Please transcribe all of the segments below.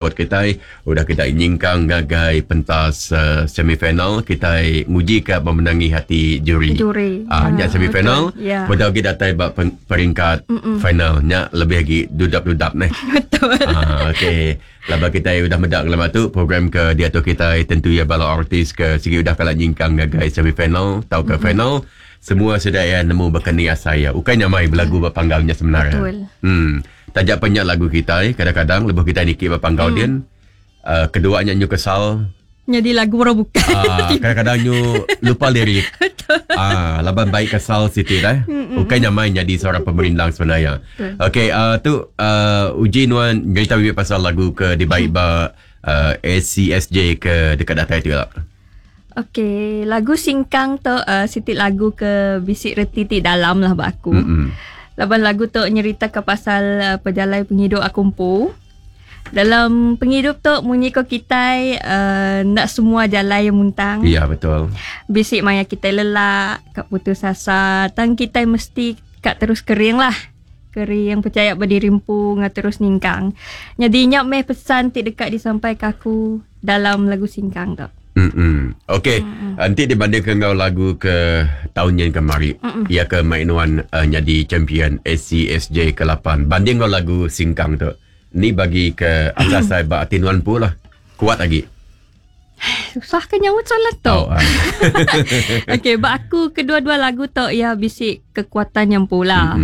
Buat kitai udah kitai nyingkang ngagai pentas semifinal kitai nguji ka memenangi hati juri. Juri. Ah nya semifinal. Yeah. Bedau agi datai ba peringkat final nya lebih agi dudap-dudap neh. Betul. Ah okey. Laban kitai udah meda ngelama tu program ke diatu kitai tentu iya bala artis ke sigi udah kala nyingkang ngagai semifinal tauka final semua sida iya nemu baka ni asai iya. Ukai nyamai belagu ba panggau nya sebenar. Betul. Taja pen nya lagu kitai, kadang-kadang lebuh kitai niki ba panggau din, uhh kedua nya nyu kesal. Nyadi lagu orang bukai. Aaa kadang-kadang nyu lupa lirik. Aaa laban bai kesal siti deh. Ukai nyamai nyadi seorang pemerindang sebenarnya. Okey uhh tu uhh uji nuan nyerita mimit pasal lagu ke dibai ba uhh ACSJ ke deka datai tu ila. Okey, lagu Singkang tu uh, siti lagu ke bisi reti ti dalam lah ba aku. Laban lagu tu nyeritaka pasal uh, pejalai pengidup aku empu. Dalam pengidup tu munyi ko kitai uh, enda semua jalai yang muntang. Ya betul. Bisi maya kitai lelak, ka putus asa, tang kitai mesti ka terus kering lah. Kering pechaya ba diri empu enggau terus nyingkang. Nyadi nya meh pesan ti deka disampaika aku dalam lagu Singkang tu. Mm-mm. Okey, enti dibandingka enggau lagu ke taun nyin kemari, iya ke mai nuan uh, nyadi champion ACSJ ke 8. Banding enggau lagu Singkang tu, ni bagi ke asai ba ati nuan empu lah. Kuat agi. Susah ke nyaut soalan tu. Oh, ah. Okey, ba aku kedua-dua lagu tu ya bisi kekuatan yang pula.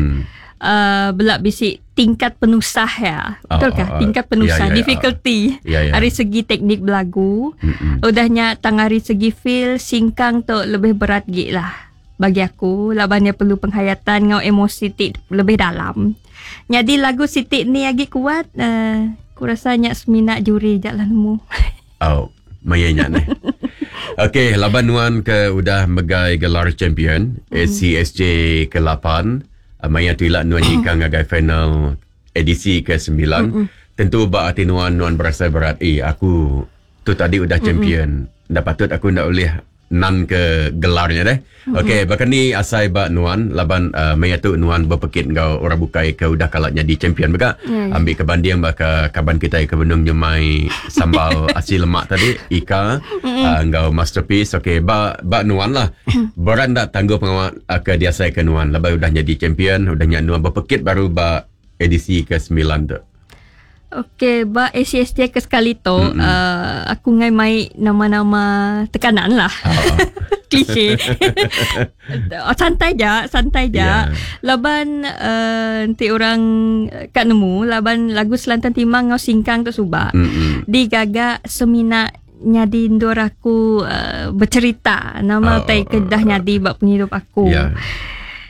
Bela bisi tingkat penusah ya. Betul kah? Tingkat penusah, Ya, ya, ya. difficulty. Ya, ya. Ari segi teknik belagu. Udah nya tang ari segi feel singkang tu lebih berat gi lah bagi aku laban iya perlu penghayatan enggau emosi ti lebih dalam. Nyadi lagu siti ni agi kuat uh, ku rasa nya semina juri ja lah nemu. Au, maya nya neh. Okey, laban nuan ke udah megai gelar champion ACSJ ke 8, maya tu ila nuan nyingkang ngagai final edisi ke 9, tentu ba ati nuan nuan berasai berat, eh aku tu tadi udah champion, enda patut aku enda ulih nan ke gelar nya deh. Okey, baka ni asai ba nuan laban uh, maya tu nuan bepekit enggau orang bukai ke udah kala nyadi champion mega. Ambil ke banding baka kaban kitai ke benung nyemai sambal asi lemak tadi, Ika uh, enggau Masterpiece. Okey, ba ba nuan lah. Berat enda tangguh pengawa uh, ke diasai ke nuan laban udah nyadi champion, udah nya nuan bepekit baru ba edisi ke 9 tu. Okey, ba ACSJ ke sekali tu, uh, aku ngai mai nama-nama tekanan lah. Klise. Santai ja, santai ja. Laban uh, enti orang ka nemu, laban lagu Selantang Timang enggau Singkang tu suba, digaga semina nyadi endur aku uh, bercerita nama utai ke dah nyadi ba pengidup aku.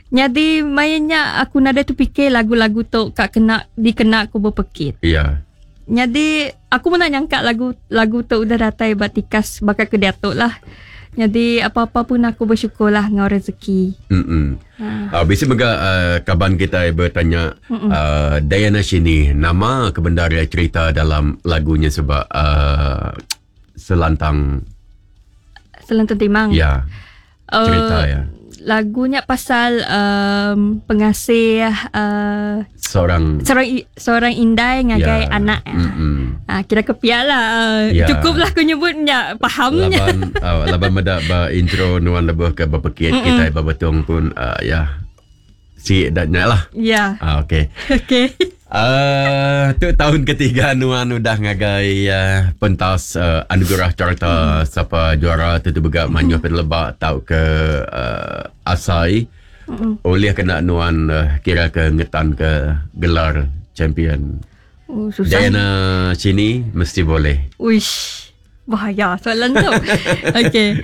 Nyadi maya nya aku nadai terfikir lagu-lagu tu ka kena dikena aku bepekit. Nyadi aku mena nyangka lagu lagu tu udah datai ba tikas baka ke diatu lah. Nyadi apa-apa pun aku bersyukur lah enggau rezeki. Bisi mega kaban kitai betanya Diana Shini nama ke bendar iya cerita dalam lagu nya suba Selantang Selantang Timang. Ya. Cerita iya. Lagu nya pasal um, pengasih seorang seorang seorang indai ngagai anak. Kira ke pia lah. Cukup lah aku nyebut nya faham nya. Laban laban meda ba intro nuan lebuh ke bepekit kitai ba Betong pun ya. Si dak nya lah. Ya. Okey. Okey. Tu tahun ketiga nuan udah ngagai pentas anugerah carta sapa juara tu tu mega mayuh peneleba tauka asai ulih kena nuan kira ke ngetan ke gelar champion. Oh, susah. Diana Chini mesti boleh. Uish. Bahaya soalan tu. Okey.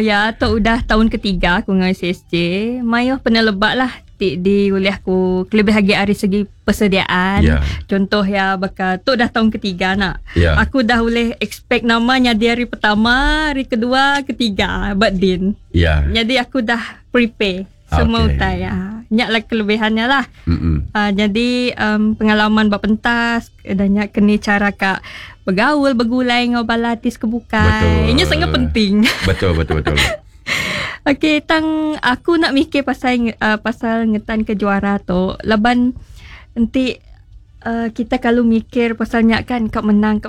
Ya, tu udah tahun ketiga aku enggau SSJ. Mayuh peneleba lah ti diulih aku kelebih agi ari segi persediaan. Contoh ya baka tu dah tahun ketiga nak. Aku dah ulih expect nama nyadi hari pertama, hari kedua, ketiga ba din. Jadi aku dah prepare semua utai. Nya lah kelebihannya lah. Jadi pengalaman ba pentas, dah nya keni cara ka begaul, begulai enggau bala artis ke bukai. Nya sangat penting. Betul betul betul. Okey, tang aku nak mikir pasal pasal ngetan ke juara tu laban enti. Kita kalau mikir pasalnya kan kak menang kak.